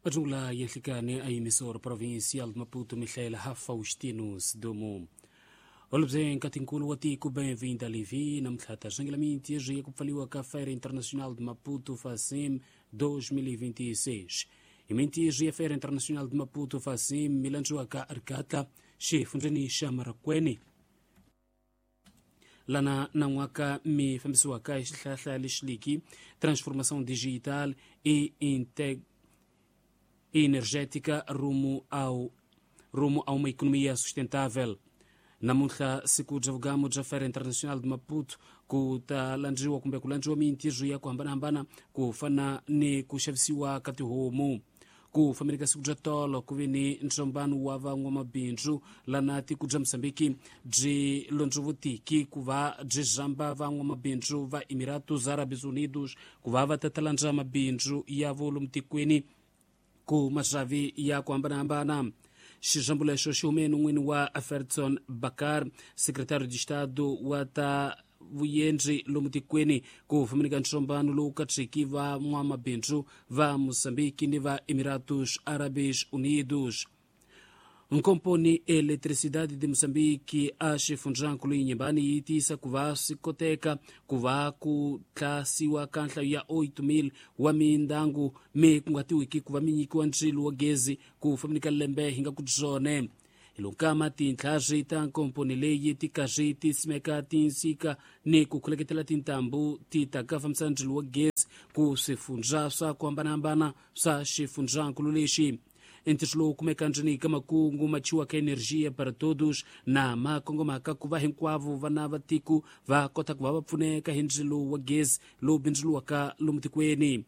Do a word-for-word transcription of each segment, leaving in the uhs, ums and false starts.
Majungula ya nhlikani a emissora provincial de Maputo Michela Faustino Sidumo. Holobye nkatinkulu wa tiko bem-vinda Livi namuntlha ta rhangela mintirho ya ku pfaliwa ka Feira Internacional de Maputo FACIM dois mil e vinte e seis. Hi mintirho ya Feira Internacional de Maputo FACIM mi landziwaka Arikatla xifundzheni xa Marracuene lana nan'waka mi fambisiwaka hi xihlahla lexiliki transformação digital e integ energética rumo ao rumo a uma economia sustentável. Namuntlha siku bya vugamu bya Feira Internacional de Maputo ku ta landziwa kumbe ku landziwa mintirho ya ku hambanahambana ku fana ni ku xavisiwa ka tihomu. Ku fambeni ka siku bya tolo ku ve ni ntsombano wa van'wamabindzu lana tiko bya Mozambique byi londzovotiki ku va byi zamba van'wamabindzu va Emiratos Árabes Unidos ku va va ta landza mabindzu ya vo lomu tikweni ku maxavi ya ku hambanahambana. Xixambo lexo xi hume enon'wini wa Aferson Bakar, secretário de Estado wa ta vuyendzi lomu tikweni ku fambeni ka ntsombano lowu katseki van'wamabindzu va Mozambique ni va Emiratos Árabes Unidos. Nkomponi Eletricidade de Moçambique a xifundzankulu Inhambane yi tiyisa ku va swi koteka ku va ku tlasiwa ka nhlayo ya oito mil wa mindyangu mi kunguhatiwiki ku va mi nyikiwa ndzilo wa gezi ku fambeni ka lembe hi nga ku byone. Hi lonkama tintlhari ta nkomponi leyi ti karhi ti simeka tinsika ni ku khuleketela tintambu ti ta ka fambisa ndzilo wa gezi ku swifundza swa ku hambanahambana swa xifundzankulu lexi. Ntirho lowu kumeka ndzeni ka makungu machiwa ka energia para todos na makongomaka ku va hinkwavo vana va tiko va kota ku va va pfuneka hi ndzilo wa gezi lowu bindzuriwaka lomu tikweni.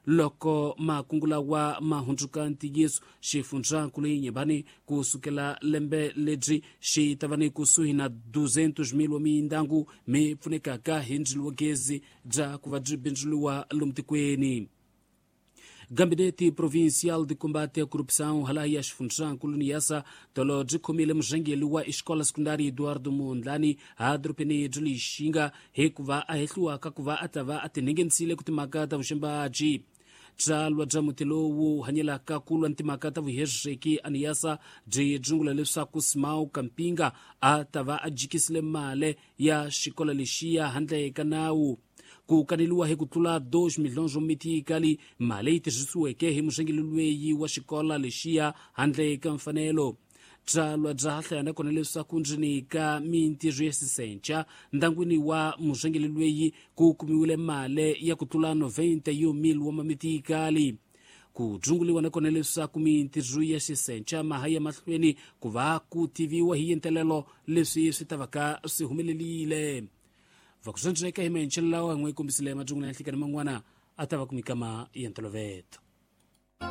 Loko makungu lawa ma hundzuka ntiyiso, xifundzankulu Inhambane ku sukela lembe lebyi xi ta va ni kusuhi na duzentos mil wa mindyangu mi pfunekaka hi ndzilo wa gezi bya ku va byi bindzuriwa lomu tikweni. Gabinete Provincial de Combate à Corrupção hala ya xifundzankulu Niassa tolo byi khomile murhangeri wa Escola Secundária Eduardo Mondlane a dorobeni bya Lixinga hikuva a hehliwaka ku va a ta va a tinhengenisile ku timhaka ta vuxembaji. Byalwa bya muti lowu hanyelaka ku lwa ni timhaka ta vuhezeki a Niassa byi dzungula leswaku Simao Kampinga a ta va a jikisile mali ya xikolo lexiya handle ka nawu. Ku kaneliwa hi ku tlula dois milhões mitikali mali leyi tirhisiweke hi murhangeri loyi wa xikolo lexiya handle ka mfanelo. Byalwa bya hlaya nakona leswaku ndzeni ka mintirho ya xisenca ndyangwini wa murhangeri loyi ku kumiwile mali ya ku tlula noventa e um mil wa mamitikali. Ku dzunguliwa nakona leswaku mintirho ya xisenca maha ya mahlweni ku va ku tiviwa hi yentelelo leswi swi ta va ka swi humelelile. Vakusendzeka hi maenxelo lawa n'we kombisile majungula ya nhlikani man'wana a ta va ku mikama ya ntolovelo.